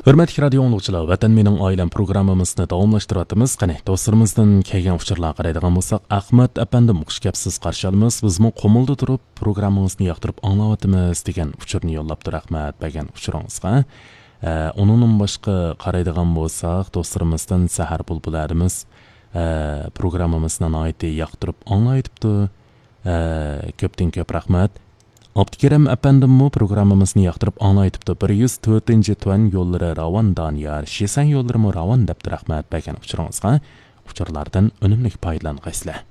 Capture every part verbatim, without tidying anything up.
ھۆرمەتلىك رادىيو ئاڭلىغۇچىلار، ۋەتەن مېنىڭ ئائىلەم پروگراممىمىزنى داۋاملاشتۇرۇۋاتىمىز. قېنى، دوستلىرىمىزدىن كەلگەن ئۇچۇرلارغا قارايدىغان بولساق، ئەخمەت ئەپەندىم، خۇش كەپسىز، قارشى ئالىمىز. بىزمۇ قۇمۇلدا تۇرۇپ پروگراممىڭىزنى ياقتۇرۇپ ئاڭلاۋاتىمىز، دېگەن ئۇچۇرنى يوللاپتۇ. رەھمەت بەرگەن ئۇچۇرىڭىزغا. ئە، ئۇنىڭدىن باشقا قارايدىغان بولساق، دوستلىرىمىزدىن سەھەر بۇلبۇلى ھەدىمىز، ئە، پروگراممىمىزنى ناھايىتى ياقتۇرۇپ ئاڭلاۋېتىپتۇ. ئە، كۆپتىن كۆپ رەھمەت. ئابدۇكېرىم ئەپەندىممۇ پروگراممىمىزنى ياقتۇرۇپ ئاڭلاۋېتىپتۇ. بىر يۈز تۆتىنچى تۈەن يوللىرى راۋان دانىيار، شىسەن يوللىرىمۇ راۋان دەپتۇ. رەھمەت بەرگەن ئۇچۇرىڭىزغا. ئۇچۇرلاردىن ئۈنۈملۈك پايدىلانغايسىلەر.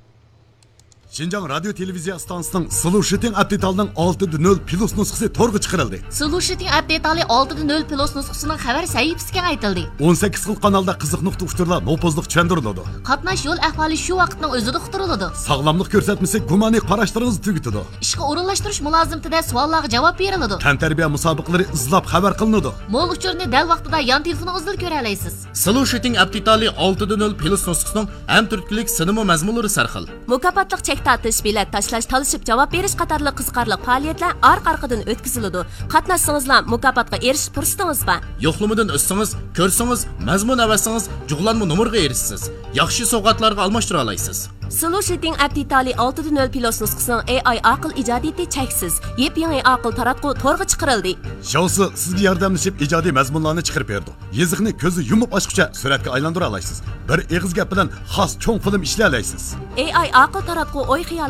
شىنجاڭ رادىيو تېلېۋىزىيە ئىستانسىسىنىڭ سىلۇشىتىڭ ئەپ دېتالىنىڭ ئالتىدە نۆل پلۇس نۇسخىسى تورغا چىقىرىلدى. سىلۇشىتىڭ ئەپ دېتالى ئالتىدە نۆل پلۇس نۇسخىسىنىڭ خەۋەر سەھىپىسى كېڭەيتىلدى. ئون سەككىز خىل قانالدا قىزىق نۇقتا ئۇچۇرلار نوپۇزلۇق چۈشەندۈرۈلىدۇ. قاتناش يول ئەھۋالى شۇ ۋاقىتنىڭ ئۆزىدە ئۇقتۇرۇلىدۇ. ساغلاملىق كۆرسەتمىسى گۇمانىي قاراشلىرىڭىزنى تۈگىتىدۇ. ئىشقا ئورۇنلاشتۇرۇش مۇلازىمىتىدە سوئاللارغا جاۋاب بېرىلىدۇ. تەنتەربىيە مۇسابىقىلىرى ئىزلاپ خەۋەر قىلىنىدۇ. مول ئۇچۇرنى دەل ۋاقتىدا يان تېلېفونىڭىزدىلا كۆرەلەيسىز. سىلۇشىتىڭ ئەپ دېتالى ئالتىدە نۆل پلۇس نۇسخىسىنىڭ ھەم تۈرتكىلىك سىنىمۇ مەزمۇنلىرى سەرخىل. مۇكاپاتلىق چەك تارتىش، بېلەت تاشلاش، تالىشىپ جاۋاب بېرىش قاتارلىق قىزىقارلىق پائالىيەتلەر ئارقا-ئارقىدىن ئۆتكۈزۈلىدۇ. قاتناشسىڭىزلا مۇكاپاتقا ئېرىشىش پۇرسىتىڭىز بار. يوقلىمىدىن ئۆتسىڭىز، كۆرسىڭىز، مەزمۇن ئەۋەتسىڭىز، جۇغلانما نومۇرغا ئېرىشىسىز. ياخشى سوۋغاتلارغا ئالماشتۇرالايسىز. سىلۇشىتىڭ ئەپ دېتالى ئالتىدە نۆل پلۇس نۇسخىسىنىڭ ئېي ئاي ئاقىل ئىجادىيىتى چەكسىز. يېپيېڭى ئاقىل تاراتقۇ تورغا چىقىرىلدى. شياۋسى سىزگە ياردەملىشىپ ئىجادىي مەزمۇنلارنى چىقىرىپ بېرىدۇ. يېزىقنى كۆزنى يۇمۇپ ئاچقۇچە سۈرەتكە ئايلاندۇرالايسىز. بىر ئېغىز گەپ بىلەن خاس چوڭ فىلىم ئىشلىيەلەيسىز. ئېي ئاي ئاقىل تاراتقۇ ئوي خىيال